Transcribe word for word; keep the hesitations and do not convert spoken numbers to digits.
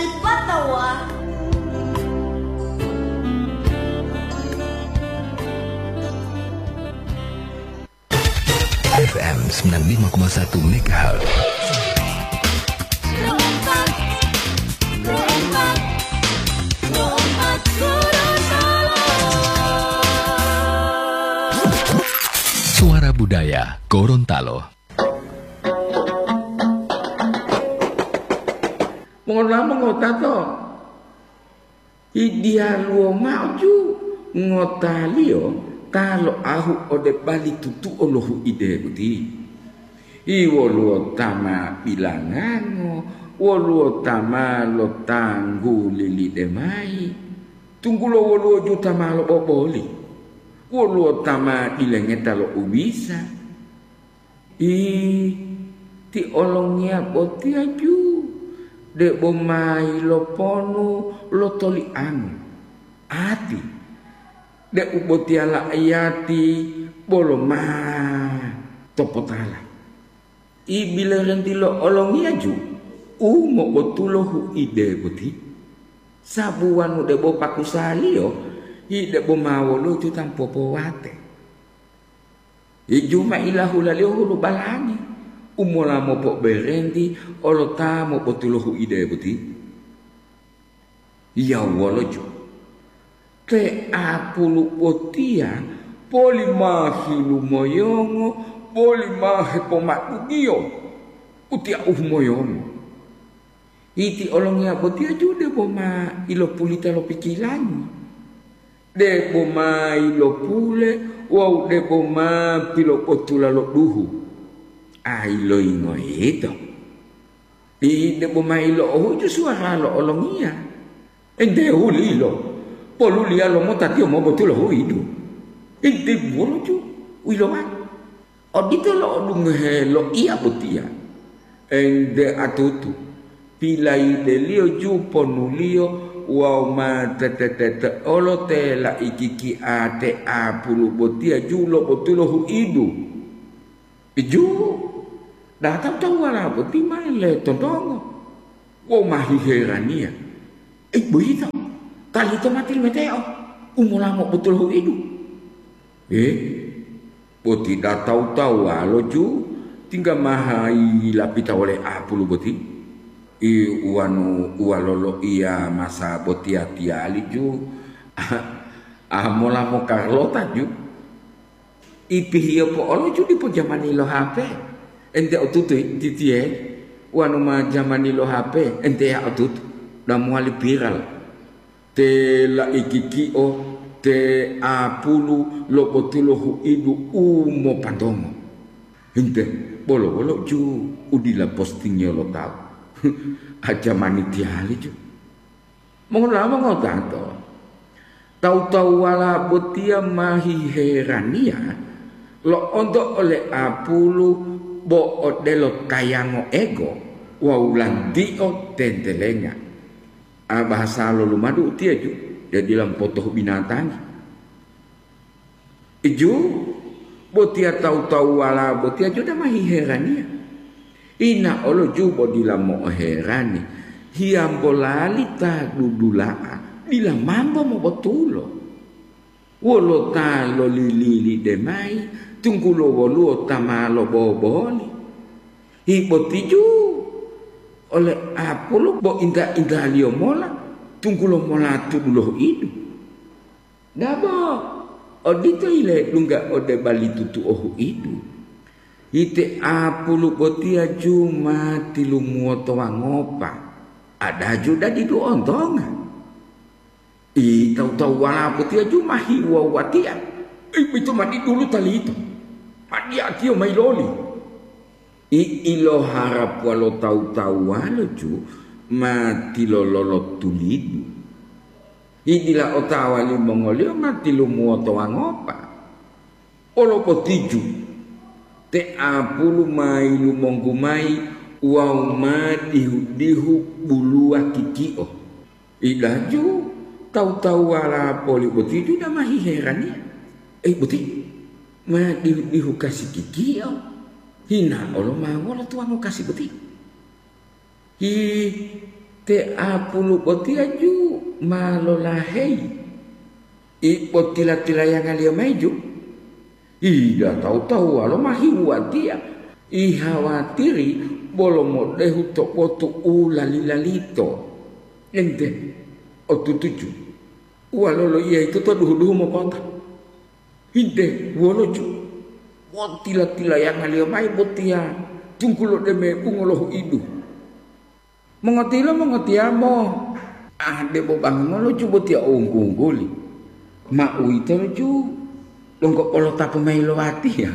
Patawa. F M sembilan lima koma satu megahertz. Suara Budaya Gorontalo. Mongola mongotato, hidiyaluwo mao ju ngotaliyo ta loahu ode bali tutuo lo huide boti. Woluwo ta ma bilangango, woluwo ta ma lotangguli lidemayi, tunggulo woluwo ju ta ma loboboli, woluwo ta ma dilengeta lo ubisa. Ih, ti olongiya botiya ju debo ma yiloponu lo toliango, ati, deu botiya la'iyati bolo ma topotala. Ibilerenti lo olongiya ju u mobotulo huide boti, sabu wanu debo pakusaliyo, hi debo ma woluwo ju ta mopowate. Iju ma ilahulaliyo hulu balangi u mola mopoberenti olo ta mobotulo huide boti. Yawolojo, te apulu botiya poli ma hilumoyongo, poli ma hepomadugiyo, utiya u humoyongo. Iti olongiya botiya ju debo ma ilopulita lo pikirangi, debo ma ilopule wawu debo ma pilopotula lo duhu. A iloyingo yito? Ti debo ma ilo'ohuju suwara lo olongiya. Ente hulilo, poluliya lomota tiyo mobotulo huidu. Ente buwoloju u yilowali. Odito lo'odungohe loiya botiya, ente atutu, pilayideliyo ju ponuliyo wawu ma tete-tete olo te laikikia te apulu botiya ju lobotulo huidu. Iju, data tawuwala boti ma letontongo wawu ma hiheraniya. Ei, boyito, ta lito ma tilimeteo, u mola mobotulo huidu. Eh, boti da tawu-tawuwalo ju tingga ma hayilapita wole apulu boti? I uwanu uwaloloiya masa botiya tiyali ju, a mola mokarlota ju. Ipihiyo po'olo ju dipo jamani lo H P. Ente otutu titiye, wanu ma jamani lo H P, ente ya otutu, da mowali viral. Te laikikio, te apulu lobotulo huidu u mopantongo. Hinte, bolo-bolo ju u dila postingiyo lo tawu. A jamani tiyali ju. Mongola mongotato, tawu-tawuwala botiya ma hiheraniya lo'onto ole apulu bo odelo tayango ego wawu lantio tentelenga. A bahasa lo lumadu utiyeju, de dila mopotohu binatangi. Iju, botiya tawu-tawuwala botiya ju dama hiheraniya. Ina olo ju bo dila mo'oherani, hiyambo lali ta dudula'a dila mambo mobotulo. Wolo ta lolililide mayi, tunggulo woluwo ta ma loboboli. Hi boti ju ole apulu bo inta-intaliyo mola, tunggulo mola tudulo huidu. Dabo, odito yiledungga ode bali tutuo huidu. Ite apulu botiya ju ma tilumuwoto wangopa, ada ju dadidu ontonga. I tawu-tawuwala botiya ju ma hiwuwa-wuwatiya, i, ito ma didulu talito, ma diyatiyo mayi loli. I iloharapuwa lo tawu-tawuwalo ju ma tilololo tulidu. I dila otawa limongoliyo ma tilumuwoto wangopa. Olo boti ju, te apulu ma yilumonggu mayi wawu ma dihu-dihu buluwa kikio. Idaju tawu-tawuwala poli boti ju dama hiheraniya. Ei boti, ma dihu-dihu kasi kikio, hina olo ma wolo tuwango kasi boti. Hi, Te apulu botiya ju ma lolaheyi. Ipo tila-tilayangaliyo mayi ju? Ida tawu-tawuwalo ma hiwuwatiya. Ihawatiri bolo modehu to botu u lali-lalito. Ente, otutuju. Uwalo loiya yito to duhu-duhu mopota. Hinte, wolo ju? Bo tila-tilayangaliyo mayi botiya, tunggulo deme bungo lohuidu. Mongotilo mongotiyamo, ah, debo bangulo ju botiya o wunggu-wungguli. Ma uwitolo ju, donggo polotapu mayi lo watiya.